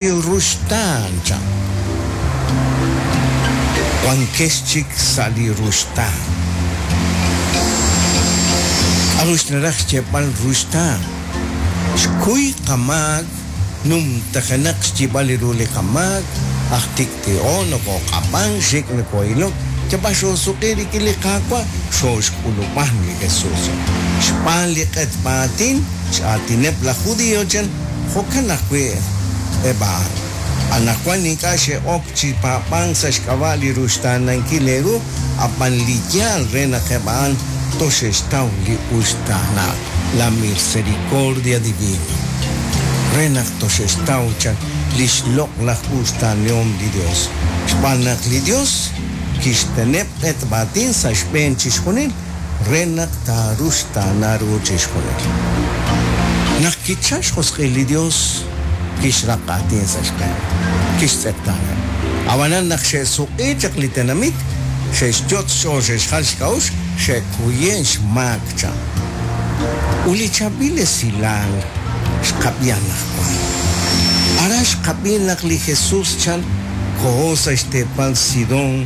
Ruxtaan chan. Wankex chik sa' li ruxtaan. K'aru xnaraj xyeeb'al ruxtaan? Xkuy qamaak, numtajenaq xyib'al li ru li qamaak, aj tik'ti'o, nokooq'ab'ank, xik' nokoo'ilok, yab'al xoosuq'i rik'in li Qaawa', xooxk'ulub'an li Jesús. Xb'aan li q'etb'a aatin, x'aatineb' laj Judio chan, jo'kan ajwi' eb' a'an. Anaqwan ink'a' xe'ok chi paab'ank sa' xk'ab'a' li ruxtaanankil eeru, ab'an li yaal re naq eb' a'an toxe'xtaw li uxtaanal, la misericordia divina, re naq toxe'xtaw chan li xloq'laj uxtaanihom li Yos. Xb'aan naq li Yos kixteneb' q'etb'aatin sa' xb'een chixjunil, re naq taaruxtaana ru chixjunil. Naq kichalk xjosq'il li Yos, kixraq aatin sa' xb'een, kixtz'eqtaaneb'. Ab'anan naq xe'suq'i chaq li tenamit, xe'xyot' xch'ool xe'xjal xk'a'uxl, xe'kuye' xmaak chan. Ut li chaab'il esilal xqab'i anaqwan. Aran xqab'i naq li Jesús chan koho sa' xteepal Sidón,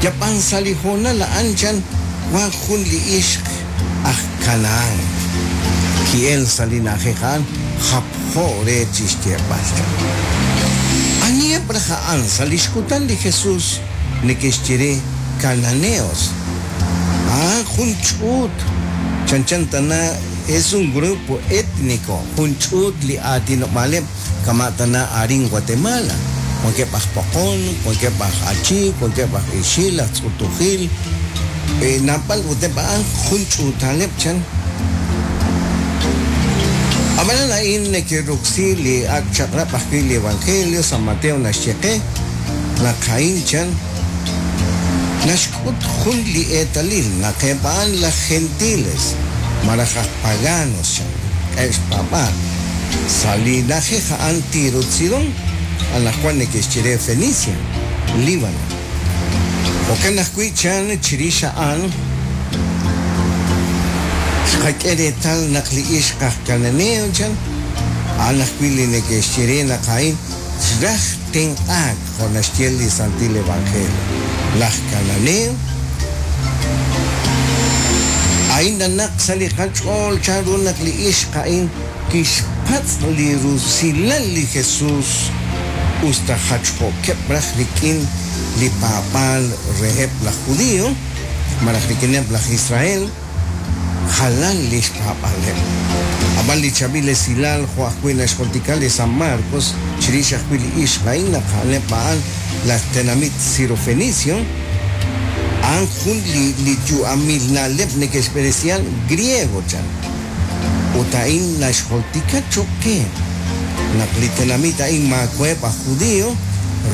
Yab'an sa' li hoonal a'an chan wank jun li ixq aj Kanahán ki'elk sa' li na'ajej a'an japjo re chi xyeeb'al chan. Aniheb' raj a'an sa' li xkutan li Jesús neke'xye re Cananeos? A'an jun ch'uut chanchan tana es un grupo étnico, jun ch'uut li aatinob'aaleb' Kama' tana arin Guatemala, wankeb' aj Poqon, wankeb' aj Achi, wankeb' aj Ixil, aj Tz'utujil, naab'al ut eb' a'an jun ch'uutaleb' chan. Ab'anan a'in neke'roksi li Ak' Chaq'rab' ajwi' li Evangelio, San Mateo naxye qe naq a'in chan naxk'ut jun li eetalil naq eb' a'an laj Gentiles malaj aj Paganos chan, k'e xpaab'aal. Sa' li na'ajej a'an Tiro ut Sidón, anaqwan neke'xye re Fenicia, Líbano. Jo'kan ajwi' chan chirix a'an xqak'e reetal naq li ixq aj Cananeo chan, a'an ajwi' li neke'xye re naq a'in xraj tenq'aak jo' naxye li Santil Evangelio. Laj Cananeo a'in nanaq sa' li qach'ool chanru naq li ixq a'in Kixpatz' li rusilal li Jesus usta jachjo'keb' raj rik'in li paab'aal reheb' laj Judio malaj rik'ineb' laj Israel, jalan li xpaab'aaleb'. Ab'an li chaab'il esilal jo' ajwi' naxjultika li San Marcos chirix ajwi' li ixq a'in naq a'aneb' a'an laj tenamit Sirofenicio, a'an jun li yu'amil na'leb' neke'xb'eresihan Griego chan. Ut a'in naxjultika cho'q qe naq li tenamit a'in maawa'eb' aj Judio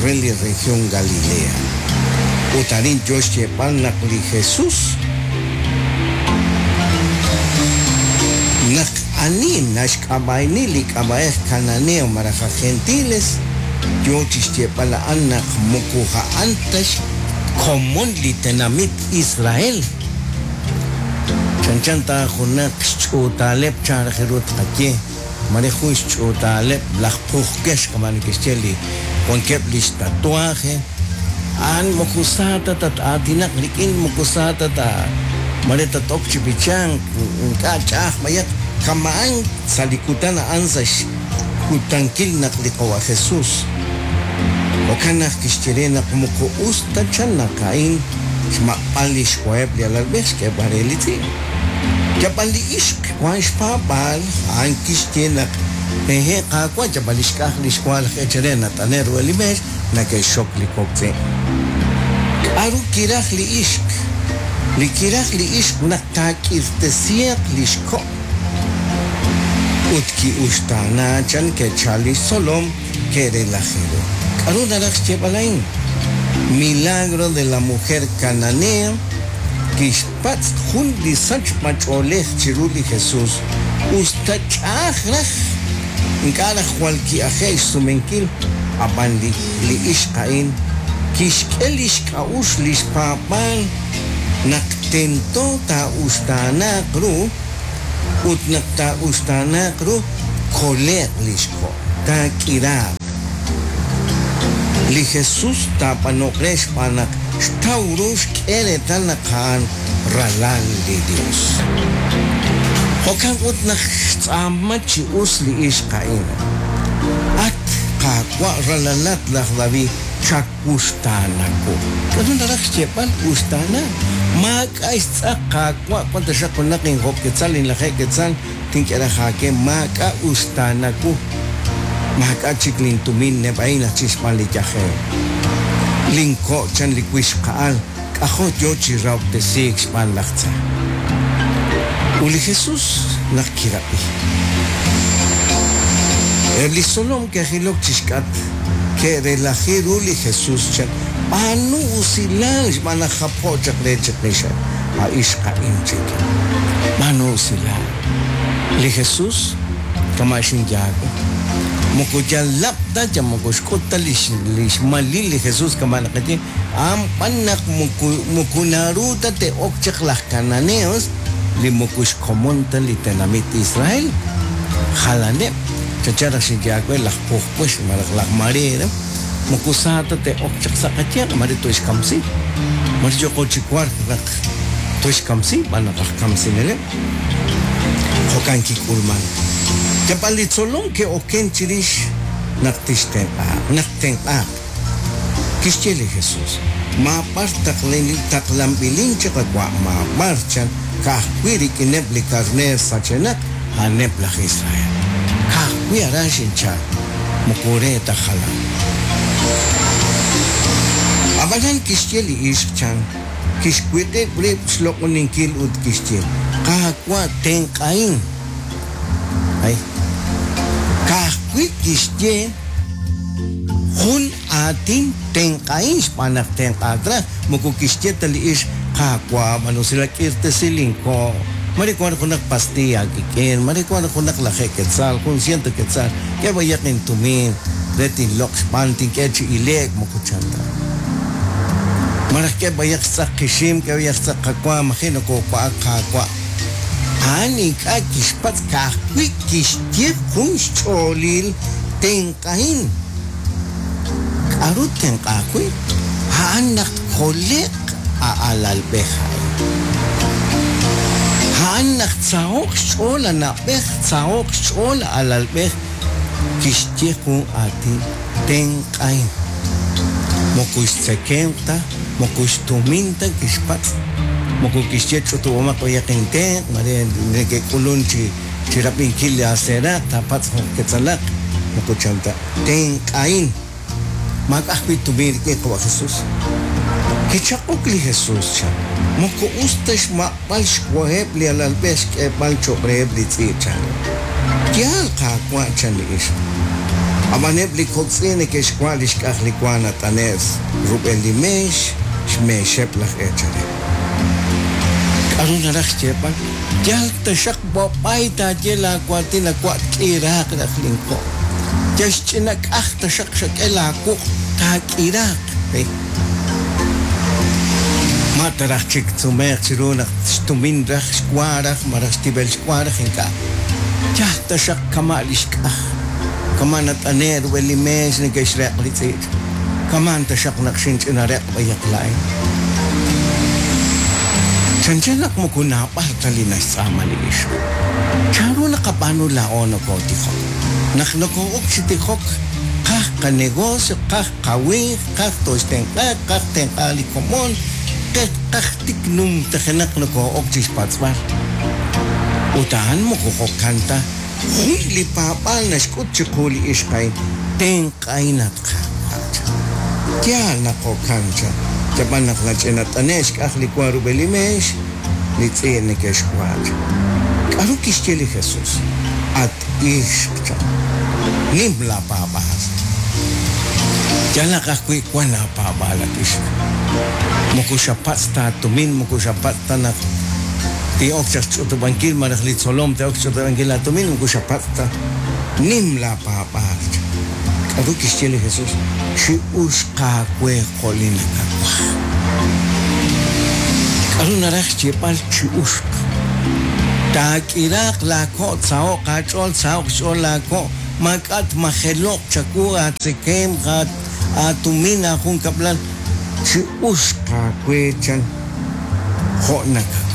re li región Galilea. Ut arin yo xyeeb'al naq li Jesús naq ani naxk'ab'a'ini li k'ab'a'ej Cananeo malaj aj Gentiles, yo chi xyeeb'al a'an naq moko a'an ta xkomon li tenamit Israel. Chanchan ta junaq xch'uutaaleb' chan raj ru tqaye, mare jun xch'uutaaleb' laj pujkex kama' neke'xye li wankeb' li xtatuaje, a'an moko sa ta tat-aatinaq rik'in, moko sa ta ta mare tat-ok chi b'ichank, ink'a' ch'a'aj b'ayaq, kama'an sa' li kutan a'an sa' xkutankil naq li Qawa' Jesús. Jo'kan naq kixye re naq moko us ta chan naq a'in Xmaq'b'al li xwaheb' li alalb'ej xk'eeb'al re li tz'i'. Yab'al li ixq wank xpaab'aal, a'an kixye naq hehe' Qaawa' yab'al li xk'aj li xwa laj eechal re nat'ane' ruheb' li meex nake'xxok li kok' tz'i'. K'aru kiraj li ixq? Li kiraj li ixq naq taak'irtesiiq li xko' ut ki'uxtaana chan ke'chal li xtzolom ke'relaji ru. K'aru naraj xyeeb'al a'in? Milagro de la mujer cananea kixpatz' jun li sachb'ach'oolej chiru li Jesús usta ch'a'aj raj, ink'a' raj jwal ki'aje'k xsumenkil, ab'an li li ixq a'in kixk'e li xk'a'uxl li xpaab'aal naq tento taa'uxtaanaaq ru ut naq taa'uxtaanaaq ru tkole'q li xko'. Taak'iraaq. Li Jesus taab'anoq re xb'aan naq xtaw ru xk'e reetal naq a'an Ralal li Yos. Jo'kan ut naq xtz'aama chi us li ixq a'in, At Qaawa' ralalat laj David, chawuxtaana wu. K'aru naraj xyeeb'al uxtaana? Maak'a' xtz'aq, Qaawa', wank taxaq junaq injob' ketzal, inlajeeb' ketzal, Tink'e raj aawe maak'a' uxtaana wu. Maak'a' chik lintumin neb'a'in aj chik xb'aan li yajel. Linko' chan li wixqa'al k'ajo' yo chi rahob'tesiik xb'aan laj tza. Ut li Jesus naq kirab'i. Eb' li xtzolom ke'jilok chi xk'atq, ke'relaji ru li Jesus chan, B'aanu usilal xb'aan naq japjo' chaq re chiqix a ixq a'in chik. B'aanu usilal. Li Jesus kama' xinye aawe. Moko yal lab' ta, yal moko xk'ut ta lix lix malil li Jesus kama' naqaye, a'an b'an naq moko moko naru ta te'ok chaq laj Cananeos li moko xkomon ta li tenamit Israel. Jalaneb', chanchan raj xinye aawe laj Pujpuex malaj laj Marera. Moko sa ta te'ok chaq sa' qayanq, mare toxkamsi. Mare yooqo chi wark naq toxkamsi xb'aan naq aj kamsineleb'. Jo'kan kik'ulman. Yab'an li tzolom ke'oken chirix naq tixtenq'ahaq, naq ttenq'aaq. Kixye li Jesus, Maab'ar taqlanb'ilin chi qawa', maab'ar, chan, ka'ajwi' rik'ineb' li karneer sachenaq, a'aneb' laj Israel. Ka'ajwi' aran xinchalk, moko re ta jalan. Ab'anan kixye li ixq chan, kixwiq'ib' rib' xloq'oninkil ut kixye, Qaawa' tenq'ahin. Ay, ka'ajwi' kixye jun aatin tenq'ahin xb'aan naq tenq'aak raj, moko kixye ta li ixq, Qaawa', b'an usilal k'irtesi linko'. Mare wank junaq pastiiy aawik'in, mare wank junaq lajeeb' ketzal, jun siento ketzal, k'e b'ayaq intumin re tinloq' xb'aan tink'e chi ile'k, moko chan ta. Malaj k'e b'ayaq xtz'aq qixim, k'e b'ayaq xtz'aq qawa, maji' nokoowa'ak Qaawa'. A'an ink'a' kixpatz' ka'ajwi' kixye jun xch'oolil tenq'ahin. K'aru ttenq'aaq wi'? A'an naq tkole'q a alalb'ej a'in. A'an naq tsaho'q xch'ool a na'b'ej, tsaho'q xch'ool a alalb'ej, kixye jun aatin, Tenq'ahin. Moko xtzekemq ta, moko xtumin ta kixpatz', moko kixye ch'utub'omaq b'ayaq intenq', mare neke'k'ulunk chi rab'inkil li aaseeraq', taapatz' jun ketzalaq, moko chan ta. Tenq'ahin. Maak'a' ajwi' tumin rik'in qawa' Jesús. Kichaq'ok li Jesús, chan, Moko us ta xmaq'b'al xwaheb' li alalb'ej xk'eeb'al cho'q reheb' li tz'i', chan. Yaal, Qaawa', chan li ixq. Ab'an eb' li kok' tz'i' neke'xwa' li xk'aj li wa nat'ane'k rub'el li meex, xmeexeb' laj eechaleb'. K'aru naraj xyeeb'al? Yal taxaq b'ab'ay taaye laawaatin a wa' tk'iraaq raj linko'. Yal xch'ina k'aj taxaq xak'e laawuq' taak'iraaq. Ma ta raj chik tsumeeq chiru naq xtumin raj xwa raj malaj xtib'el xwa raj? Ink'a'. Yal taxaq kama' li xk'aj, kama' nat'ane'k rub'el li meex neke'xreq' li tz'i'. Kama'an taxaq naq xinch'ina req' b'ayaq laa'in. Chanchan naq moko naab'al ta li naxtz'aama li ixq. Chanru naqab'aanu laa'o nokootijok? Naq nokoo'ok chi tijok, qaj qanegocio, qaj qawinq, qaj tooxtenq'a, qaj tenq'a li komon, qaj tik numtajenaq nokoo'ok chi xpatz'b'al. Ut a'an moko jo'kan ta. Jun li paab'aal naxk'ut chiqu li ixq a'in, Tenq'ahin at Qaawa', chan. Yaal naq jo'kan, chan. Yab'an naq nach'inat'ane' xk'aj li wa rub'el li meex, li tz'i' neke'xwa', chan. K'aru kixye li Jesus? At ixq, chan. Nim laapaab'aal. Yalaq ajwi' wank laapaab'aal, at ixq. Moko xapatz' ta aatumin, moko xapatz' ta naq tin'ok chaq xch'utub'ankil malaj li tzolom te'ok xch'utub'ankil laatumin, moko xapatz' ta. Nim laapaab'aal, chan. K'aru kixye li Jesus? Chi'uxq aawe jo' li nakawaj. K'aru naraj xyeeb'al chi'uxq? Taak'iraaq laako', tsaho'q aach'ool, tsaho'q xch'ool laako'. Maak'a' tmajelo'q chawu aatzekemq, aatumin, aajunkab'lal. Chi'uxq aawe chan jo' nakawaj.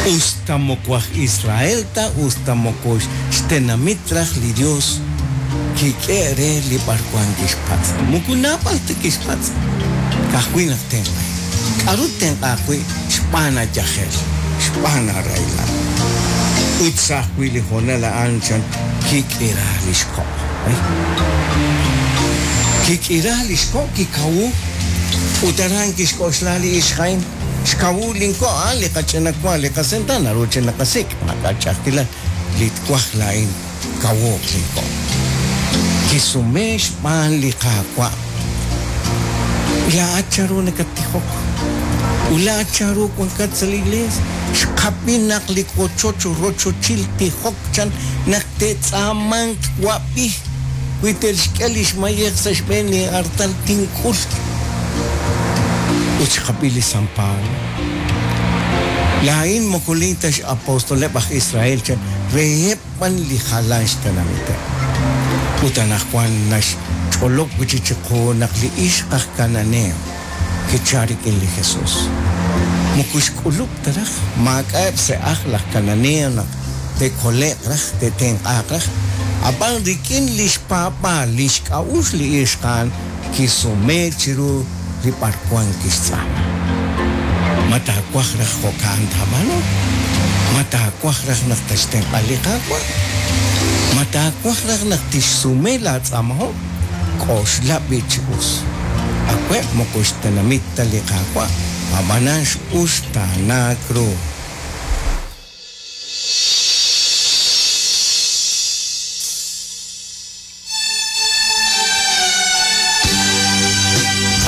Us ta moko aj Israel ta, us ta moko xtenamit raj li Yos, kik'e re li b'arwan kixpatz'. Moko naab'al ta kixpatz', ka'ajwi' naq tenq'aheb'. K'aru ttenq'aaq wi' xb'aan aayajel, xb'aan aarahilal? Ut sa' ajwi' li hoonal a'an chan kik'ira li xko'. Kik'ira li xko', kikawu, ut aran kixk'oxla li ixq a'in, Xkawu linko' a'an li qach'ina wa, li qasenta naru chi naqasik', maak'a' ch'a'ajkilal, li twaj laa'in kawuuq linko'. Kisume xb'aan li Qaawa', Laa'at chanru nakattijok? Ut laa'at chanru wankat sa' li iglees? Xqab'i naq li wochoch rochochil tijok chan naq te'tz'aamanq wab'i, wi te'xk'e lix mayej sa' xb'een li artal tink'ul. Ut xqab'i li San Pablo. Laa'in moko lin ta x'apostoleb' aj Israel chan, reheb' b'an li jalan xtenamiteb'. Ut anaqwan naxch'olob' wi' chik chiqu naq li ixq aj Kananeo kichal rik'in li Jesus. Moko xk'ulub' ta raj, maak'a'eb' sa' ajl laj Kananeo naq te'kole'q raj, te'tenq'aaq raj. Ab'an rik'in li xpaab'aal, li xk'a'uxl li ixq a'an kisumeek chiru li b'arwan kixtz'aama. Ma taawaj raj jo'ka'an taab'aanu? Ma taawaj raj naq tatxtenq'a li Qaawa'? Ma taawaj raj naq tixsume laatz'aamahom? K'oxla b'i' chi us. Awe' moko xtenamit ta li Qaawa', ab'anan x'uxtaanaak ru.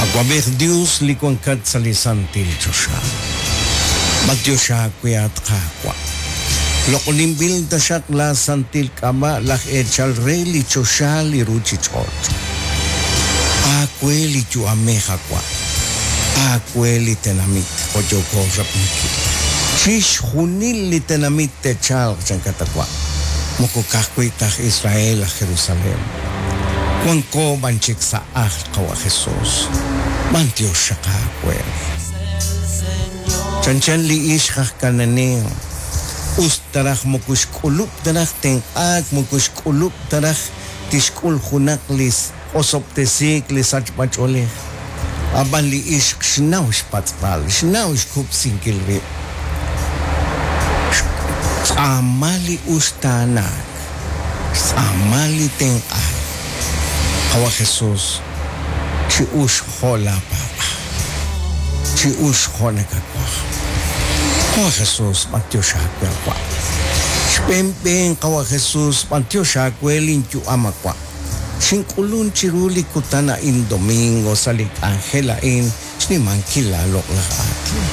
Awab'ej Dios li wankat sa' li santil choxa, b'antiox aawe at Qaawa'. Loq'oninb'il taxaq laa santil k'ab'a' laj eechal re li choxa li ruchich'och'. Aawe li yu'amej awa', aawe li tenamit jo' yooko rab'inkil. Chixjunil li tenamit te'chalq chankat awa', moko ka'ajwi' ta aj Israel aj Jerusalén. Wanko b'an chik sa' ajl Qawa' Jesús. B'antiox xaq aawe. Chanchan li ixq aj Cananeo, us ta raj moko xk'ulub' ta raj tenq'aak, moko xk'ulub' ta raj tixk'ul junaq li osob'tesiik li sachb'ach'oolej. Ab'an li ixq xnaw xpatz'b'al, xnaw xkub'sinkil rib'. Xtz'aama li uxtaanaak, xtz'aama li tenq'aak. Qawa' Jesús, chi'uxq jo' laapaab'aal, chi'uxq jo' nakawaj. Qawa' Jesús, b'antiox aawe awa'. Xb'een b'een, Qawa' Jesús, b'antiox aawe linyu'am awa'. Xink'ulun chiru li kutan a'in domingo sa' li k'anjel a'in xnimankil laaloq'laj aatin.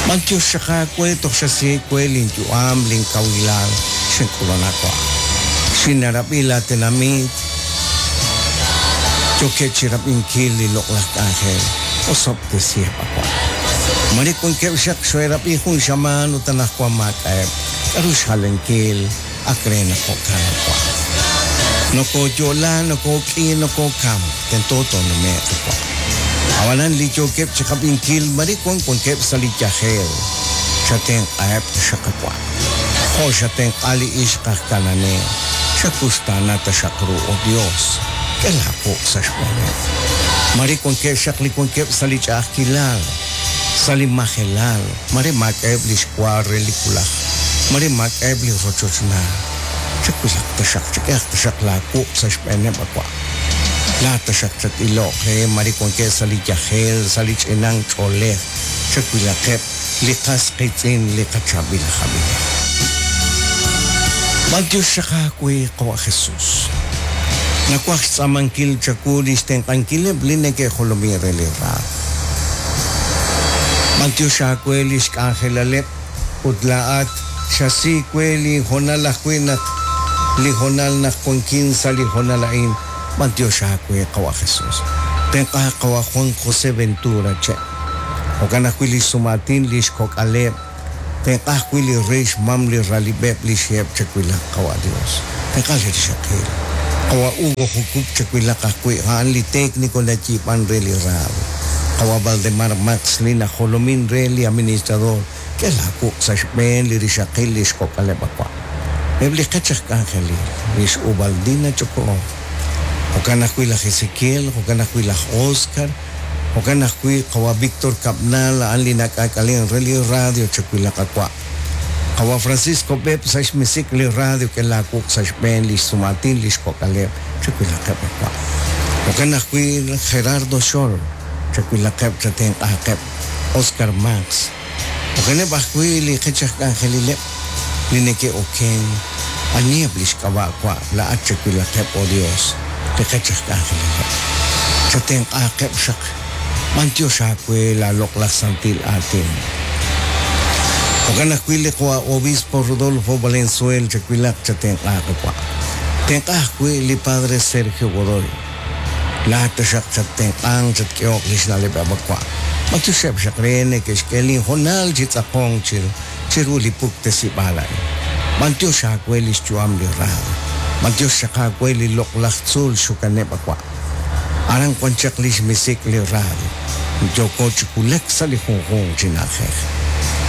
B'antiox xaq aawe toj xasi we linyu'am, linkawilal, xink'ulun awa'. Xinarab'i laatenamit, yookeb' chi rab'inkil li loq'laj k'anjel, osob'tesiheb' awa'. Mare wankeb' xaq xo'erab'i jun xamaan ut anaqwan maak'a'eb' k'aru xjalenkil. Ak re naq jo'kan awa'. Nokooyo'la, nokook'i, nokookam, tento toonume'q awa'. Ab'anan li yookeb' chi qab'inkil mare wan wankeb' sa' li yajel, chatenq'aheb' taxaq awa'. Jo' xatenq'a li ixq aj Cananeo, xakuxtaana taxaq ru, oh Dios, k'e laawuq' sa' xb'eeneb'. Mare wankeb' xaq li wankeb' sa' li ch'a'ajkilal, sa' li majelal, Mare maak'a'eb' li xwa re li wulaj, mare maak'a'eb' li rochochnaal. Chawilaq taxaq, chak'ehaq taxaq laawuq' sa' xb'eeneb' awa'. Laa'at taxaq chat-iloq re mare wankeb' sa' li yajel, sa' li ch'inank ch'oolej, chawilaqeb' li qas qiitz'in li qachaab'il aj ab'inel. B'antiox xaq aawe, Qawa' Jesús. Nawaj xtz'aamankil chawu li xtenq'ankileb' li neke'jolomin re li raad. B'antiox aawe li xk'anjelaleb' ut laa'at xasi we li hoonal ajwi' naq li hoonal naq wankin sa' li hoonal a'in. B'antiox aawe, Qawa' Jesús. Tenq'a Qawa' Juan José Ventura Che'. Jo'kan ajwi' li xsum'aatin li xkok'aleb'. Tenq'a ajwi' li ri xmam li ralib'eb' li xheb' chawilaq, Qawa' Dios. Tenq'a li rixaqil. Qawa' Hugo Jucub chawilaq ajwi', a'an li técnico nayiib'an re li radio. Qawa' Valdemar Max li najolomin re li administrador, k'e laawuq' sa' xb'een li rixaqil li xkok'aleb' awa'. Eb' li qech aj k'anjelil, lix Ubaldina Ch'oko'oj. Jo'kan ajwi' laj Ezequiel, jo'kan ajwi' laj Oscar, Jo'kan ajwi' qawa' Víctor Cabnal a'an li nak'aak'alen re li radio chawilaq awa'. Qawa' Francisco Beb' sa' xmisik li radio k'e laawuq' sa' xb'een li xsumaatin li xkok'aleb' chawilaqeb' awa'. Jo'kan ajwi' Gerardo Xol chawilaqeb' chatenq'aaqeb' Oscar Max. Jo'kaneb' ajwi' li qech aj k'anjelileb' li neke'oken, aniheb' li xk'ab'a' wa' laa'at chawilaqeb', oh Dios, li qech aj k'anjelileb'. Chatenq'aaqeb' xaq, b'antiox aawe laaloq'laj santil aatin. Jo'kan ajwi' li qawa' Obispo Rodolfo Valenzuel chawilaq chatenq'aaq wa'. Tenq'a ajwi' li Padre Sergio Godoy. Laa'at taxaq chattenq'anq, chatk'ehoq li xna'leb'eb' wa'. B'antioxeb' xaq re neke'xk'e linhoonal chi tz'aqonk chiru li puktesib'aal a'in. B'antiox aawe li xyu'am li radio. B'antiox xaq aawe li loq'laj tzuul xukaneb' wa'. Aran wan chaq li xmisik' li radio. Yooko chi wulak sa' li junjunq chi na'ajej.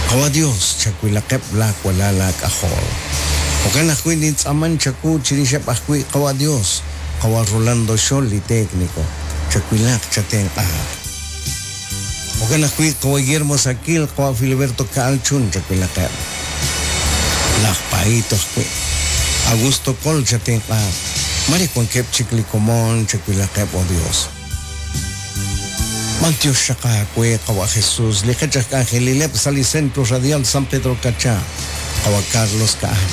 Qawa' Dios, chawilaqeb' laawalal aak'ajol. Jo'kan ajwi' nintz'aaman chawu chirixeb' ajwi' Qawa' Dios, Qawa' Rolando Xol li técnico, chawilaq chatenq'aaq. Jo'kan ajwi' Qawa' Guillermo Saquil, Qawa' Filiberto Ka'al Chun chawilaqeb'. Laj Paito ajwi'. Augusto Col chatenq'aaq. Mare wankeb' chik li komon chawilaqeb' oh Dios. B'antiox xaq aawe Qawa' Jesús, li qech aj k'anjelileb' sa' li Centro Radial San Pedro Cacha, Qawa' Carlos Ka'al,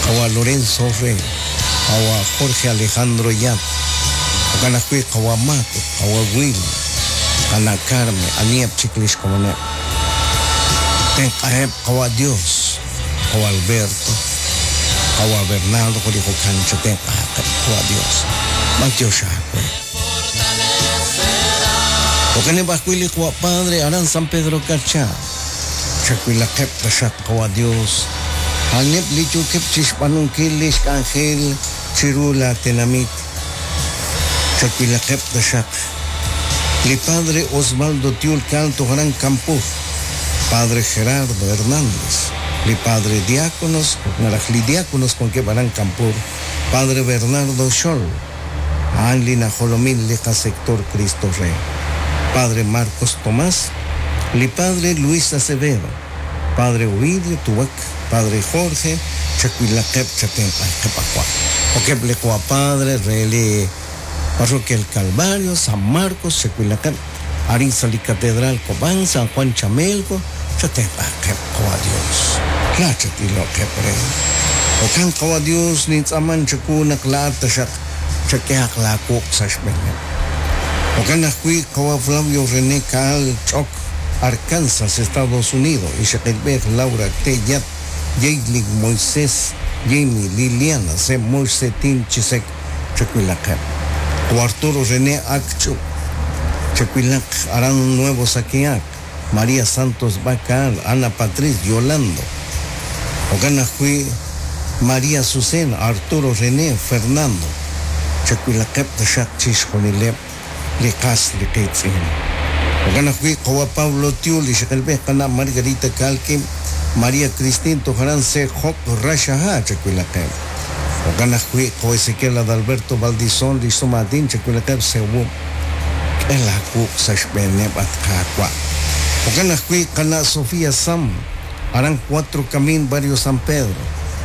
Qawa' Lorenzo Rey, Qawa' Jorge Alejandro Yap, jo'kan ajwi' Qawa' Mato, Qawa' Willy, Qana' Carmen, aniheb' chik li xkomoneb'. Tenq'aheb' Qawa' Dios, Qawa' Alberto, Qawa' Bernardo jo' li jo'kan chatenq'ahaqeb' Qawa' Dios. B'antiox aawe. Jo'kaneb' ajwi' li Qawa' Padre aran San Pedro Carchá. Chawilaqeb' taxaq Qawa' Dios, a'aneb' li yookeb' chixb'aanunkil li xk'anjel chiru laa tenamit. Chawilaqeb' taxaq li Padre Osvaldo Tiul Calto aran Campur, Padre Gerardo Hernández, li Padre Diáconos malaj li Diáconos wankeb' aran Campur, Padre Bernardo Xol, a'an li najolomin li qasector Cristo Rey, Padre Marcos Tomás, li Padre Luis Acevedo, Padre Ovidio Tuwak, Padre Jorge, chawilaqeb' chatenq'aqeb' awa'. Okeb' li qawa' Padre re li Parroquia El Calvario, San Marcos, chawilaqeb' arin sa' li Catedral Cobán, San Juan Chamelco, chatenq'aqeb' qawa' Dios. Laa chatiloqeb' re. Jo'kan qawa' Dios nintz'aaman chawu naq laa'at taxaq chak'ehaq laawuq' sa' xb'eeneb'. Jo'kan ajwi' qawa' Flavio René Caal Ch'ok, Arkansas, Estados Unidos, ixaqilb'ej Laura T. Yat, Yeilin Moisés, Jamie Liliana, Se Moise Tin Chisek, chawilaqeb'. Qawa' Arturo René Ak Ch'ub', chawilaq aran Nuevo Saquiac, María Santos Bacal, Ana Patriz, Yolando. Jo'kan ajwi' María Azucena, Arturo René, Fernando, chawilaqeb' taxaq chixjunileb' li qas li qiitz'in. Jo'kan ajwi' qawa' Pablo Tiul, ixaqilb'ej qana' Margarita Kalkim, María Cristin toj aran Se Job Raxaha, chawilaqeb'. Jo'kan ajwi' qawa' Ezequiel Adalberto Valdizón, li xsumaatin, chawilaqeb' Sewu. K'e laawuq' sa' xb'eeneb' at Qaawa'. Jo'kan ajwi' qana' Sofía Sam, aran Cuatro Camin, Barrio San Pedro.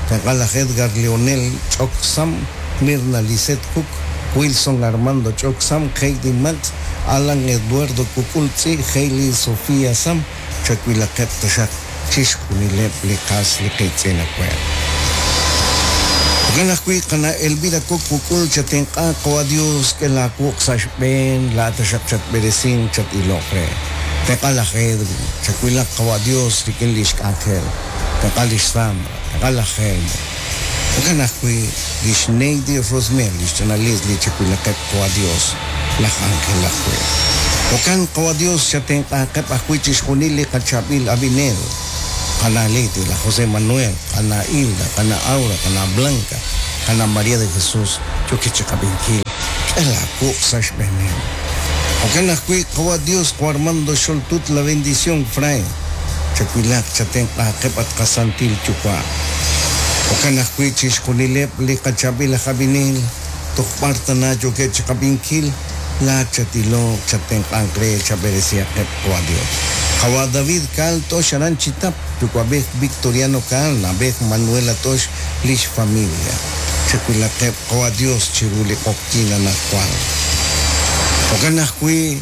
Tenq'a laj Edgar Leonel Ch'ok Sam, Mirna Lisette Cook, Wilson Armando Ch'ok Sam, Heidi Max, Alan Eduardo Kukul Tz'i, Hailey Sofía Sam, chawilaqeb' taxaq chixjunileb' li qas li qiitz'in awe'. Jo'kan ajwi' qana' Elvira Cook Kukul chatenq'a qawa' Dios k'e laawuq' sa' xb'een laa'at taxaq chatb'eresinq chat-iloq re. Tenq'a laj Edwin, chawilaq qawa' Dios rik'in li xk'anjel. Tenq'a lix Sandra, tenq'a laj Helmer. Jo'kan ajwi' lix Neidy Rosmel, lix ch'ina Leslie chawilaqeb' qawa' Dios, laj Ángel ajwi'. Jo'kan qawa' Dios chatenq'aaqeb' ajwi' chixjunil li qachaab'il ab'inel. Qana' Leti, laj José Manuel, qana' Hilda, qana' Aura, qana' Blanca, qana' María de Jesús, yookeb' chiqab'inkil. K'e laawuq' sa' xb'eeneb'. Jo'kan ajwi', Qawa' Dios, Qawa' Armando Xoltut, La Bendición, Fray, chawilaq, chatenq'aaqeb' at qasantil Yuwa'. Jo'kan ajwi' chixjunileb' li qachaab'il aj ab'inel toj b'ar tana yookeb' chiqab'inkil, laa'at chatiloq, chatenq'anq re, chab'eresihaqeb', Qawa' Dios. Qawa' David Caal T'ox aran Chitap, yuwa'b'ej Victoriano Caal, na'b'ej Manuela T'ox, lix familia. Chawilaqeb', Qawa' Dios, chiru li q'oqyink anaqwan. Jo'kan ajwi',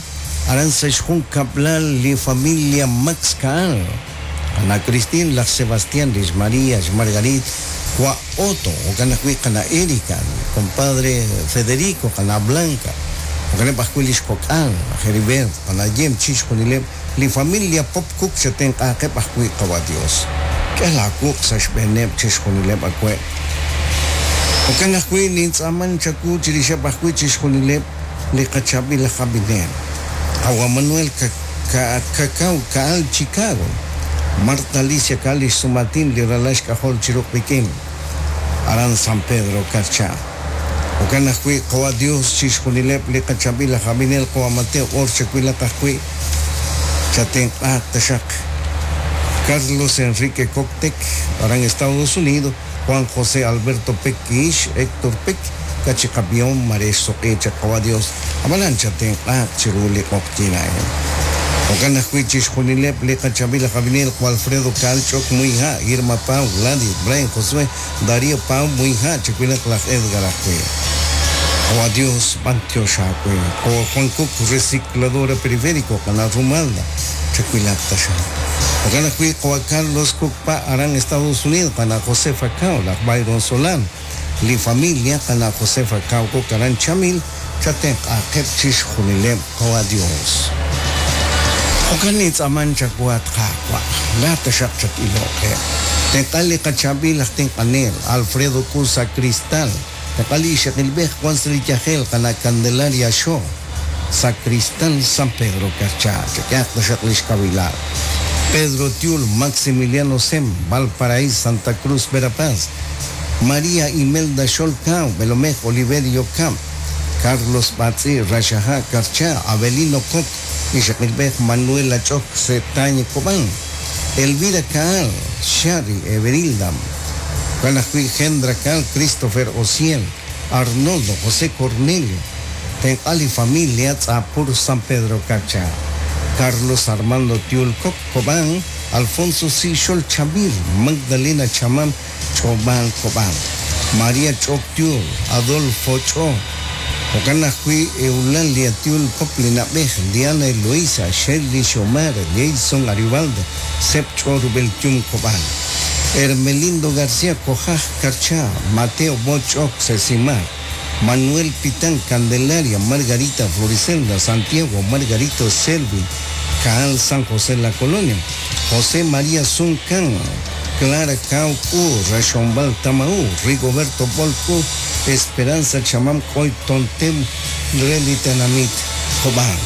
aran sa' xjunkab'lal li familia Max Caal, Qana' Christine, laj Sebastián, lix María, xMargarit, Wa' Otto, jo'kan ajwi' Qana' Erika, compadre Federico, Qana' Blanca, jo'kaneb' ajwi' lix kok'al, laj Heribert, Qana' Yem, chixjunileb' li familia Pop Cook xatenq'aaqeb' ajwi' Qawa' Dios. K'e laawuq' sa' xb'eeneb' chixjunileb' awe'. Jo'kan ajwi' nintz'aaman chawu chirixeb' ajwi' chixjunileb' li qachaab'il aj ab'inel. Qawa' Manuel Cacao Caal Chicago, Marta Alicia Caal lix sumaatin li ralal xk'ajol chiru qik'in aran San Pedro Carchá. Jo'kan ajwi' Qawa' Dios chixjunileb' li qachaab'il aj ab'inel Qawa' Mateo Or chawilaq ajwi' chatenq'aaq taxaq. Carlos Enrique Coctec aran Estados Unidos, Juan José Alberto Pec Ix, Héctor Pec, Kachiqab'ihom mare xsuq'i chaq Qawa' Dios, ab'anan chatenq'aaq chiru li q'oqyink a'in. Jo'kan ajwi' chixjunileb' li qachaab'il aj ab'inel Qawa' Alfredo Caal Ch'ok Muyha', Irma Pau, Gladys, Brian Josué, Darío Pau Muyha', chawilaq laj Edgar ajwi'. Qawa' Dios, b'antiox aawe. Qawa' Juan Cook, Recicladora Periférico, Qana' Rumalda, chawilaq taxaq. Jo'kan ajwi' Qawa' Carlos Cook Pa aran Estados Unidos, Qana' Josefa Cao, laj Byron Solano, li familia Qana' Josefa Cao Cook aran Chamil, chatenq'aaqeb' chixjunileb' Qawa' Dios. Jo'kan nintz'aaman chawu at Qaawa', laa'at taxaq chat-iloq qe. Tenq'a li qachaab'il aj tenq'anel, Alfredo Cusa Cristal, tenq'a li ixaqilb'ej wan sa' li yajel, Qana' Candelaria Xo, Sacristán San Pedro Carchá, chak'ehaq taxaq lix kawilal. Pedro Tiul, Maximiliano Sem, Valparaíso, Santa Cruz, Verapaz, María Imelda Xol Cao, Belomej Oliverio Camp, Carlos Batz'i, Raxaja' Carchá, Avelino Coc, ixaqilb'ej Manuela Ch'ok Setañ Cobán, Elvira Caal, Shari Everilda, jo'kan ajwi' Gendra Caal, Christopher Osiel, Arnoldo, José Cornelio, tenq'a li familia Tz'apur San Pedro Carchá, Carlos Armando Tiul Coc Cobán, Alfonso Si Xol Chavil, Magdalena Chamam Ch'ob'al Cobán, María Ch'ok Tiul, Adolfo Ch'o, jo'kan ajwi' Eulalia Tiul Pop li na'b'ej, Diana Eloisa, Shirley Xiomara, Jason Arivaldo, Seb Ch'o Rubel Tium Cobán, Hermelindo García Cojaj Carchá, Mateo Boch'ok Sesimar, Manuel Pitán Candelaria, Margarita Floricelda, Santiago Margarito Selvin, Caal San José La Colonia, José María Zuncan, Clara Caucu, Rachombal Tamaú, Rigoberto Bolcu, Esperanza Chamam Coy Tontem, Relitenamit, Cobán.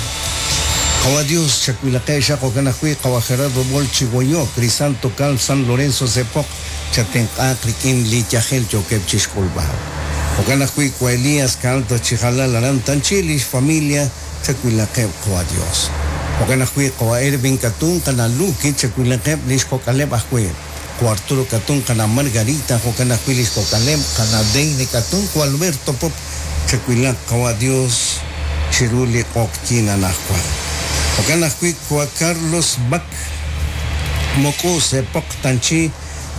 Qawa Dios, chakwilaqe xaq jo'kan ajwi' Qawa Gerardo Bol Chigoyo, Crisanto Cal San Lorenzo Sepoq, chatenq'aaq rik'in li yajel yookeb' chixk'ulb'al. Jo'kan ajwi' Wa Elías Caal Tachijalal aran Tanchi lix familia chawilaqeb' Qawa Dios. Jo'kan ajwi' Qawa Ervin Katun Qana' Luki chawilaqeb' lix kok'aleb' ajwi'. Wa Arturo Katun Qana' Margarita jo'kan ajwi' lix kok'aleb' Qana' Deine Katun Wa Alberto Pop chawilaq Qawa Dios chiru li q'oqyink anaqwan. Jo'kan ajwi' Wa Carlos Bac Mok'u Sepoq Tanchi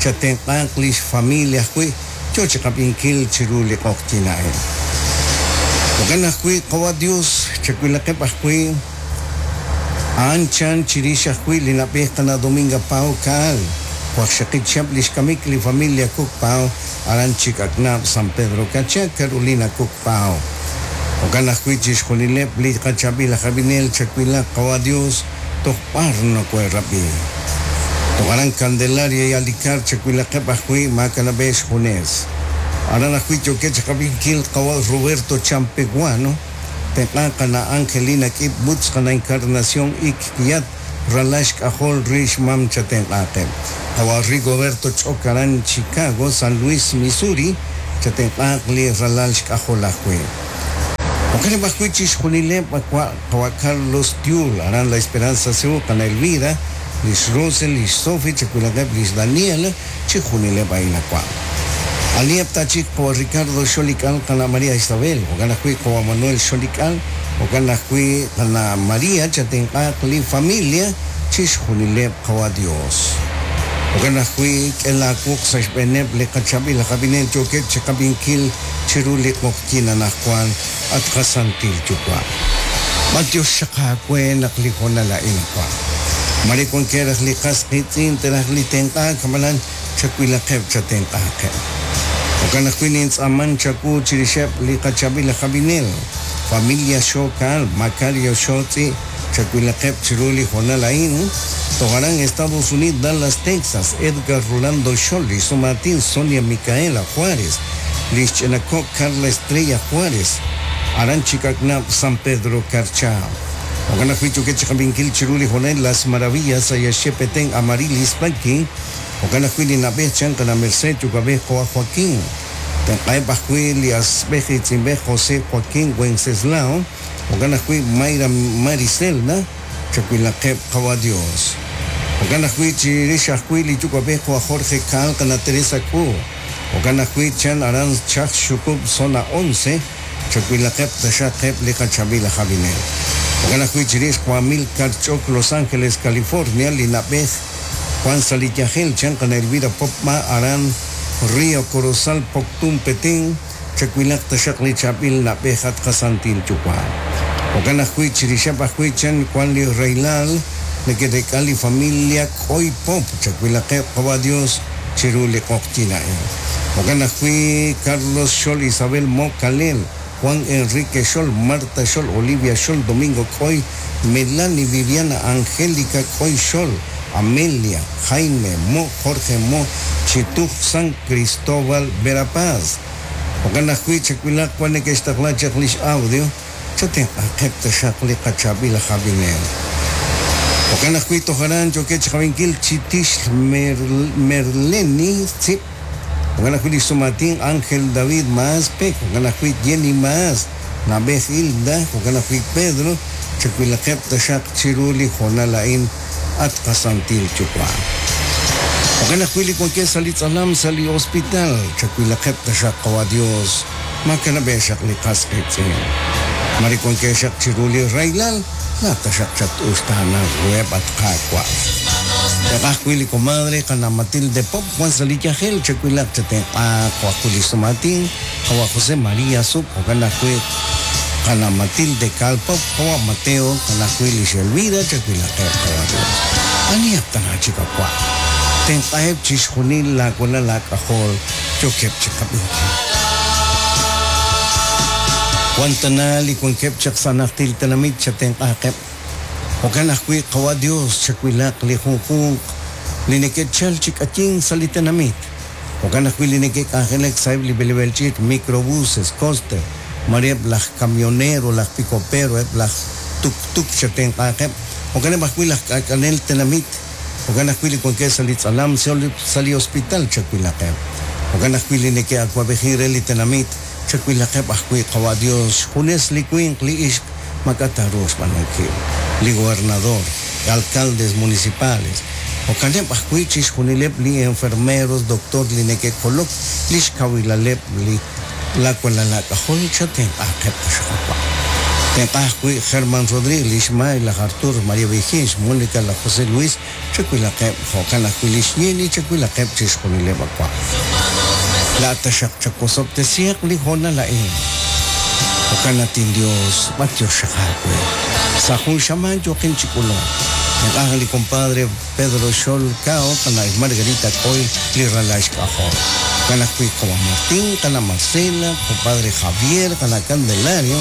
chatenq'aaq lix familia ajwi' yo chiqab'inkil chiru li q'oqyink a'in. Jo'kan ajwi' Qawa' Dios chawilaqeb' ajwi' a'an chan chirix ajwi' li na'b'ej Qana' Dominga Pao Caal, waqxaqib' chihab' lix kamik li familia Cook Pao aran Chik'aknab' San Pedro Carchá, Carolina Cook Pao. Jo'kan ajwi' chixjunileb' li qachaab'il aj ab'inel chawilaq Qawa' Dios toj b'ar nokohe'rab'i. Toj aran Candelaria y Alicar chawilaqeb' ajwi' maakanab'ej xjunes. Aran ajwi' yookeb' chiqab'inkil Qawa' Roberto Champeguano, tenq'an Qana' Angelina K'ib' Butz, Qana' Encarnación Ik Kiyat, ralal xk'ajol ri xmam chatenq'aaqeb'. Qawa' Rigoberto Ch'ok aran Chicago, San Luis, Missouri, chatenq'aaq li ralal xk'ajol ajwi'. Jo'kaneb' ajwi' chixjunileb' qawa' qawa' Carlos Tiul aran La Esperanza Ceú, qana' Elvira, lix Rosel, lix Sofi, chawilaqeb' lix Daniela, chixjunileb' a'in awa'. Aniheb' ta chik qawa' Ricardo Xolik'al, qana' María Isabel, jo'kan ajwi' qawa' Manuel Xolik'al, jo'kan ajwi' qana' María, chatenq'aaq li familia, chixjunileb' qawa' Dios. Jo'kan ajwi' k'e laawuq sa' xb'eeneb' li qachaab'il aj ab'inel yookeb' chiqab'inkil chiru li q'oqyink anaqwan, at qasantil Yuwa'. B'antiox xaq aawe naq li hoonal a'in awa'. Mare wankeb' raj li qas qiitz'in te'raj li tenq'aak, ab'anan chawilaqeb' chatenq'aaqeb'. Jo'kan ajwi' nintz'aaman chawu chirixeb' li qachaab'il aj ab'inel, familia Xo Kaal, Macario Xo Tz'i', chawilaqeb' chiru li hoonal a'in, toj aran Estados Unidos, Dallas, Texas, Edgar Rolando Xol, lix sumaatin Sonia Micaela Juárez, lix ch'ina ko' Carla Estrella Juárez, aran Chikaknab', San Pedro Carchá. Jo'kan ajwi' yookeb' chiqab'inkil chiru li hoonal Las Maravillas, Ayaxe, Petén, Amarilis, Paqui, jo'kan ajwi' li na'b'ej chan qana' Merced, yuwa'b'ej qawa' Joaquín. Tenq'aheb' ajwi' li asb'ej iitz'inb'ej José Joaquín Wenceslao, jo'kan ajwi' Mayra Maricelda, chawilaqeb' qawa' Dios. Jo'kan ajwi' chirix ajwi' li yuwa'b'ej qawa' Jorge Caal, qana' Teresa K'u. Jo'kan ajwi' chan aran Chaj Xukub' Zona 11, chawilaqeb' taxaq eb' li qachaab'il aj ab'inel. Jo'kan ajwi' chirix qawa' Amilcar Ch'ok, Los Ángeles, California, li na'b'ej Juan sa' li yajel chan qana' Elvira Popma aran Río Corozal, Poptún, Petén, chawilaq taxaq li chaab'il na'b'ej at qasantil Yuwa'. Jo'kan ajwi' chirixeb' ajwi' chan wan li rahilal neke'reek'a li familia K'oy Pop, chawilaqeb' qawa' Dios chiru li q'oqyink a'in. Jo'kan ajwi' Carlos Xol, Isabel Mo Kalel, Juan Enrique Xol, Marta Xol, Olivia Xol, Domingo K'oy, Melanie Viviana Angélica K'oy Xol, Amelia, Jaime Mo, Jorge Mo, Chituj, San Cristóbal, Verapaz. Jo'kan ajwi' chawilaq wan neke'xtaqla chaq lix audio, chatenq'aqeb' taxaq li qachaab'il aj ab'inel. Jo'kan ajwi' toj aran yookeb' chiqab'inkil Chitix Merleni Tzib', jo'kan ajwi' lix sumaatin Ángel David Maas Pek, jo'kan ajwi' Jenny Maas, na'b'ej Hilda, jo'kan ajwi' Pedro, chawilaqeb' taxaq chiru li hoonal a'in at qasantil Yuwa'. Jo'kan ajwi' li wankeb' sa' li tz'alam sa' li hospital, chawilaqeb' taxaq qawa' Dios, makanab'eb' xaq li qas qiitz'in. Mare wankeb' xaq chiru li rahilal, laa'at taxaq chat-uxtaananq ruheb' at Qaawa'. Te'qaj ajwi' li comadre qana' Matilde Pop wan sa' li yajel, chawilaq chatenq'aaq jo' ajwi' li xsumaatin, qawa' José María Sup, jo'kan ajwi' qana' Matilde Caal Pop, qawa' Mateo, qana' ajwi' lix Elvira, chawilaqeb' qawa' Dios. Anihaq tana chik awa'? Tenq'aheb' chixjunil laawalal aak'ajol yookeb' chiqab'inkil. Wan tana li wankeb' chaq sa' najtil tenamit chatenq'aaqeb'. Jo'kan ajwi' qawa' Dios chawilaq li junjunq li neke'chal chi k'ayink sa' li tenamit. Jo'kan ajwi' li neke'k'anjelak sa'eb' li b'eleb'aal ch'iich', microbuses, coaster, mare eb' laj camionero, laj picopero, eb' laj tuk-tuk chatenq'aaqeb'. Jo'kaneb' ajwi' laj k'aak'anel tenamit. Jo'kan ajwi' li wankeb' sa' li tz'alam, sa' li hospital chawilaqeb'. Jo'kan ajwi' li neke'awab'ejin re li tenamit, chawilaqeb' ajwi' qawa' Dios, xjunes li winq, li ixq, maak'a' taaruuq xb'aanunkil. Li gobernador, alcaldes municipales, jo'kaneb' ajwi' chixjunileb' li enfermeros, doctor li neke'kolok li xkawilaleb' li laawalal aak'ajol, chatenq'aaqeb' taxaq awa'. Tenq'a ajwi' Germán Rodríguez, lix May, laj Artur, María Vigil, Mónica, laj José Luis, chawilaqeb', jo'kan ajwi' lix Jenny, chawilaqeb' chixjunileb' awa'. Laa'at taxaq chawosob'tesihaq li hoonal a'in. Jo'kan at inDios, b'antiox xaq aawe. Sa' jun xamaan yooqin chi k'ulunk. Tenq'a li compadre Pedro Xol Cao, qana' Margarita K'oy, li ralal xk'ajol. Jo'kan ajwi' qawa' Martín, qana' Marcela, compadre Javier, qana' Candelario,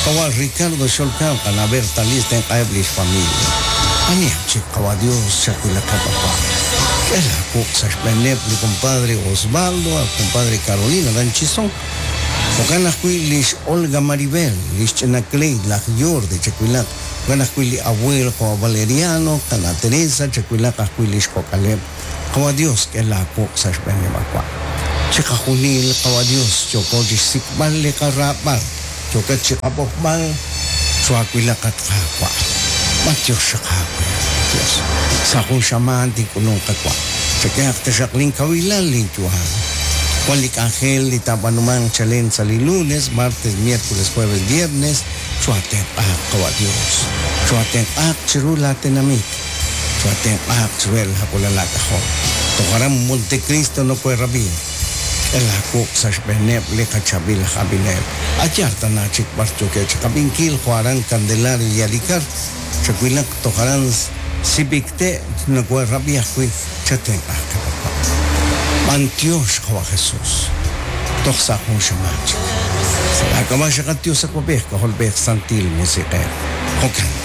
qawa' Ricardo Xol Cao, qana' Berta Liz, tenq'aheb' lix familia. Anihaq chik qawa' Dios chawilaqeb' awa'. K'e laawuq' sa' xb'eeneb' li compadre Osvaldo, al compadre Carolina aran Chisón. Jo'kan ajwi' lix Olga Maribel, lix ch'ina Cleid, laj Jordi, chawilaq. Jo'kan ajwi' li abuel qawa' Valeriano, qana' Teresa, chawilaq ajwi' lix kok'aleb'. Qawa' Dios, k'e laa wuq' sa' xb'eeneb' awa'. Chiqajunil, qawa' Dios, yooko chixsik'b'al li qaraab'al, yookat chiqab'oqb'al, chwaawilaq at Qaawa'. B'antiox xaq aawe, at Dios. Sa' jun xamaan tink'ulunq qawa'. Chak'ehaq taxaq lin kawilal lin yu'am. Wan li k'anjel li taab'aanumanq chalen sa' li lunes, martes, miércoles, jueves, viernes, chwaatenq'aaq, Qawa' Dios. Chwaatenq'aaq chiru laa tenamit. Chwaatenq'aaq chiruheb' laa walal aak'ajol. Toj aran Montecristo nokoherab'i. K'e laa wuq' sa' xb'eeneb' li qachaab'il aj ab'inel. A' yaal tana chik b'ar yookeb' chiqab'inkil jo' aran Candelaria y Alikar, chawilaq toj aran Sibicte nokoherab'i ajwi' chatenq'aaqeb' awa'. B'antiox Qawa' Jesus. Toj sa' jun xamaan chik. Sa' laa k'ab'a' xaqat Dios Awab'ej, K'ajolb'ej, Santil Musiq'ej. Jo'kan.